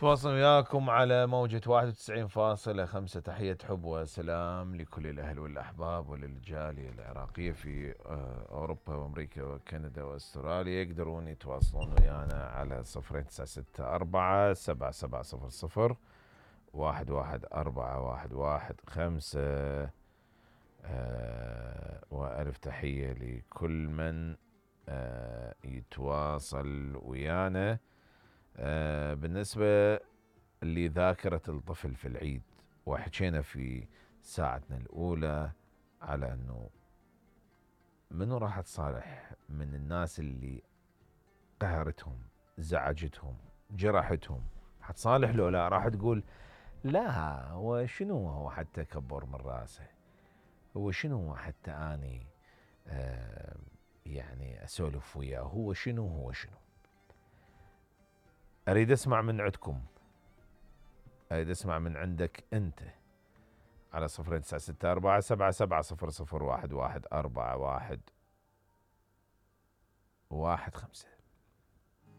تواصل وياكم على موجة 91.5. تحية حب وسلام لكل الأهل والأحباب وللجالية العراقية في أوروبا وأمريكا وكندا وأستراليا. يقدرون يتواصلون ويانا على 0964 7700 1141115. وألف تحية لكل من يتواصل ويانا. بالنسبة لذاكرة الطفل في العيد، وحكينا في ساعتنا الأولى على أنه منو راح تصالح من الناس اللي قهرتهم، زعجتهم، جرحتهم، حتصالح لو لا؟ راح تقول لا، هو شنو هو حتى كبر من راسه، هو شنو هو حتى أني يعني أسولف وياه، هو شنو. أريد أسمع من عندكم، أريد أسمع من عندك أنت على 0964 7700 1141115.